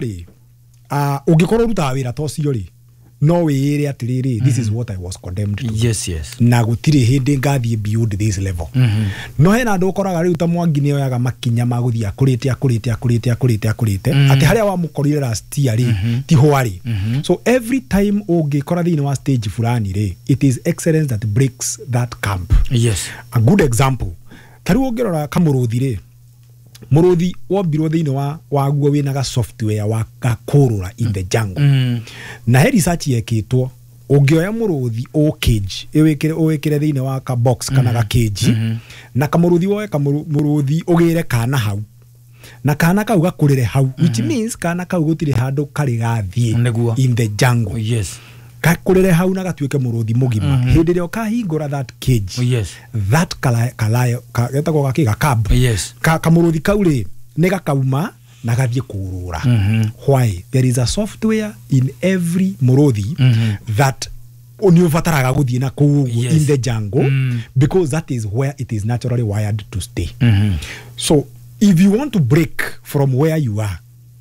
Rĩ, ũngĩkorwo ũrutaga wĩra ta ũcio rĩ, no wĩĩre atĩrĩrĩ, "This is what I was condemned to." Na gũtirĩ hĩndĩ ngathiĩ beyond this level. No hena andũ ũkoraga rĩu ta Mwangi nĩ oyaga makinya ma gũthiĩ akũrĩte, akũrĩte, akũrĩte, akũrĩte, akũrĩte, atĩ harĩa wamũkorire last year rĩ, ti hwarĩ. So every time ũngĩkora thĩinĩ wa stage fulani rĩ, it is excellence that breaks that camp. A good example, ta rĩu ũngĩrora kamũrũthi rĩ, mũrũthi wombirwo thĩinĩ wa waguo wĩna ga software wa gakũrũra in the jungle. Na he research yekĩtwo, ũngĩoya mũrũthi o cage, ũwĩkĩre thĩinĩ wa ka box kana ga cage, na kamũrũthi, woe kamũrũthi ũgĩre kana hau, na kana kau gakũrĩre hau, which means kana kau gũtirĩ handũ karĩ gathiĩ in the jungle. Gakũrĩre hau na gatuĩke mũrũthi mũgima. Hĩndĩ ĩrĩa ũkahingũra that cage, that getagwo gakĩ ga cub, kamũrũthi kau rĩ, nĩ gakauma na gathiĩ kũrũra. Why? There is a software in every mũrũthi that nĩ ũbataraga gũthiĩ na kũu ũguo in the jungle, because that is where it is naturally wired to stay. So if you want to break from where you are,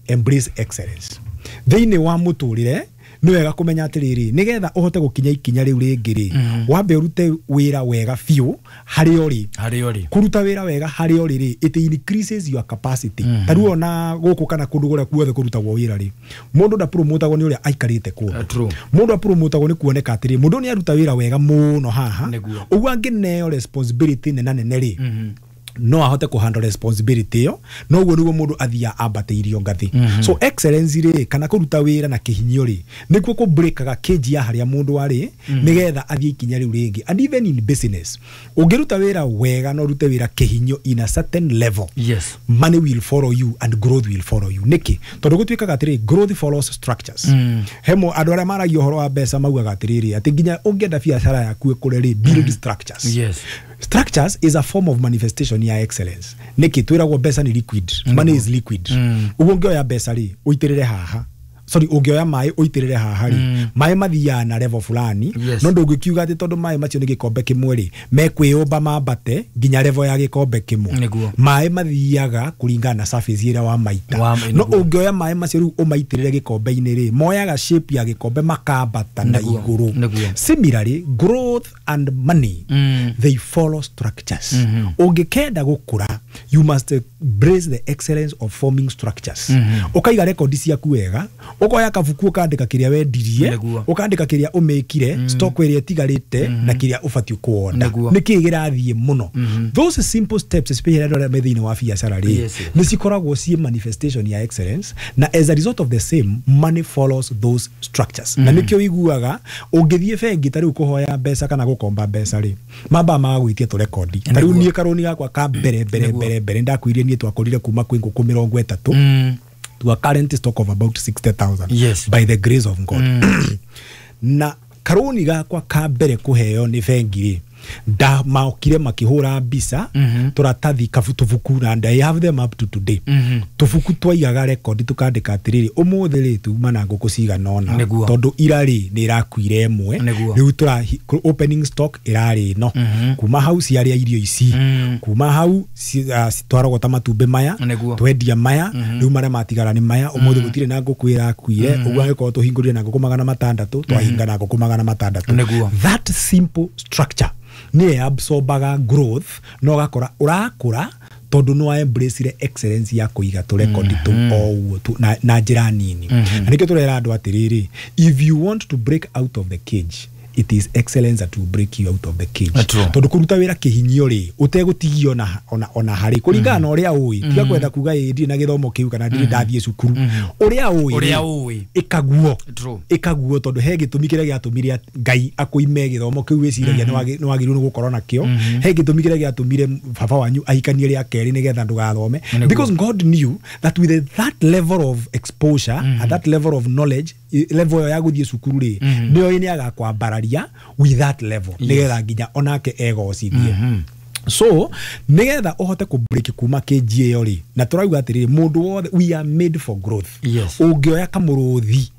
embrace excellence thĩinĩ wa mũtũrĩre. Nĩ wega kũmenya atĩrĩrĩ, nĩgetha ũhote gũkinya ikinya rĩu rĩngĩ rĩ, wambe ũrute wĩra wega biũ harĩa ũrĩ. Harĩa ũrĩ. Kũruta wĩra wega harĩa ũrĩ rĩ, it increases your capacity. Ta rĩu ona gũkũ kana kũndũ kũrĩa guothe kũrutagwo wĩra rĩ, mũndũ ndapromotagwo nĩ ũrĩa aikarĩte kũndũ. True. Mũndũ apromotagwo nĩ kuoneka atĩrĩ, mũndũ nĩ aruta wĩra wega mũno haha. Ũguo angĩneo responsibility nena nene rĩ, no ahote kũhandle responsibility ĩyo. Noguo nĩguo mũndũ athiaga ambatĩirio ngathĩ. So excellence rĩ, kana kũruta wĩra na kĩhinyio rĩ, nĩkuo kũbreakaga cage ya harĩa mũndũ arĩ, nĩgetha athiĩ ikinya rĩu rĩngĩ. And even in business, ũngĩruta wĩra wega na ũrute wĩra kĩhinyio in a certain level, money will follow you and growth will follow you. Nĩkĩ? Tondũ gũtuĩkaga atĩrĩ, growth follows structures. Hemo andũ arĩa maragia ũhoro wa mbeca maugaga atĩrĩrĩ, atĩ nginya ũngĩenda biacara yaku ĩkũre rĩ, build structures. Structures is a form of manifestation ya excellence. Nĩkĩ twĩragwo mbeca nĩ liquid? Money is liquid. Ũguo ũngĩoya mbeca rĩ, ũitĩrĩre haha, sorry, ũngĩoya maĩ ũitĩrĩre haha rĩ, maĩ mathiaga na level fulani. No ndũngĩkiuga atĩ tondũ maĩ macio nĩ gĩkombe kĩmwe rĩ, mekwĩyũmba mambate nginya level ya gĩkombe kĩmwe. Maĩ mathiaga kũringana na surface ĩrĩa wamaita. No ũngĩoya maĩ macio rĩu ũmaitĩrĩre gĩkombe-inĩ rĩ, moyaga shape ya gĩkombe makambata na igũrũ. Similarly, growth and money, they follow structures. Ũngĩkenda gũkũra, you must embrace the excellence of forming structures. Ũkaiga rekondi ciaku wega, ũkoya kabuku, ũkandĩka kĩrĩa wendirie, ũkandĩka kĩrĩa ũmĩkire, stock ĩrĩa ĩtigarĩte na kĩrĩa ũbatiĩ kuonda, nĩkĩĩ kĩrathiĩ mũno. Those simple steps, especially andũ arĩa me thĩinĩ wa biacara rĩ, nĩ cikoragwo ciĩ manifestation ya excellence, na as a result of the same, money follows those structures. Na nĩkĩo ũiguaga ũngĩthiĩ bengi ta rĩu kũhoya mbeca kana gũkomba mbeca rĩ, mambaga magagwĩtia tũrekondi. Ta rĩu niĩ karũni gakwa ka mbere mbere mbere mbere ndakwĩrire niĩ twakũrire kuma kwĩ ngũkũ 30 to a current stock of about 60,000, by the grace of God. Na karũni gakwa ka mbere kũheo nĩ bengi rĩ, ndamaokire makĩhũra mbica tũratathi kabu tũbuku, na and I have them up to today. Tũbuku twaigaga rekondi, tũkandĩka atĩrĩrĩ, ũmũthĩ rĩ, tuma na ngũkũ cigana ũna, tondũ ira rĩ, nĩ ĩrakuire ĩmwe. Rĩu tũra opening stock ĩrarĩ ĩno, kuma hau ciarĩa irio ici, kuma hau twarogota matumbĩ maya, twendia maya, rĩu marĩa matigara nĩ maya. Ũmũthĩ gũtirĩ na ngũkũ ĩrakuire. Ũguo angĩkorwo tũhingũrire na ngũkũ 600, twahinga na ngũkũ 600. That simple structure nĩyo absorbaga growth, na ũgakora ũrakũra tondũ nĩ embrace excellence ya kũiga tũrekondi tũ o ũguo tu na njĩra nini. Na nĩkĩo tũrera andũ atĩrĩrĩ, if you want to break out of the cage, it is excellence that will break you out of the cage. Tondũ kũruta wĩra kĩhinyio rĩ, ũtegũtigio ona harĩ kũringana na ũrĩa ũĩ, tiga kwenda kuga ĩ ndirĩ na gĩthomo kĩu kana ndirĩ ndathiĩ cukuru, ũrĩa ũĩ Ũrĩa rĩ, ũĩ. ĩkaguo. Ĩkaguo, tondũ he gĩtũmi kĩrĩa gĩatũmire Ngai akũime gĩthomo kĩu wĩciragia nĩ wagĩrĩirwo nĩ gũkorwo nakĩo. He gĩtũmi kĩrĩa gĩatũmire baba wanyu ahikanie rĩa kerĩ nĩgetha ndũgathome, because God knew that with that level of exposure and that level of knowledge, level ĩyo ya gũthiĩ cukuru rĩ, nĩyo nĩ agakwambararia with that level, nĩgetha nginya onake egocithie. So nigetha uhote ku break kuma cage ĩyo rĩ, na tũrauga atĩrĩrĩ, mũndũ wothe, we are made for growth. Ũngĩoya kamũrũthi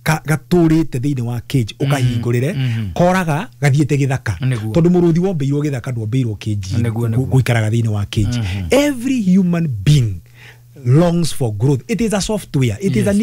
gatũrĩte thĩinĩ wa cage, ũkahingũrĩre, koraga gathiĩte gĩthaka. Tondũ mũrũthi wombĩirwo gĩthaka, ndwombĩirwo cage. Gũikaraga thĩinĩ wa cage. Every human being Longs for growth. It is a software, it is an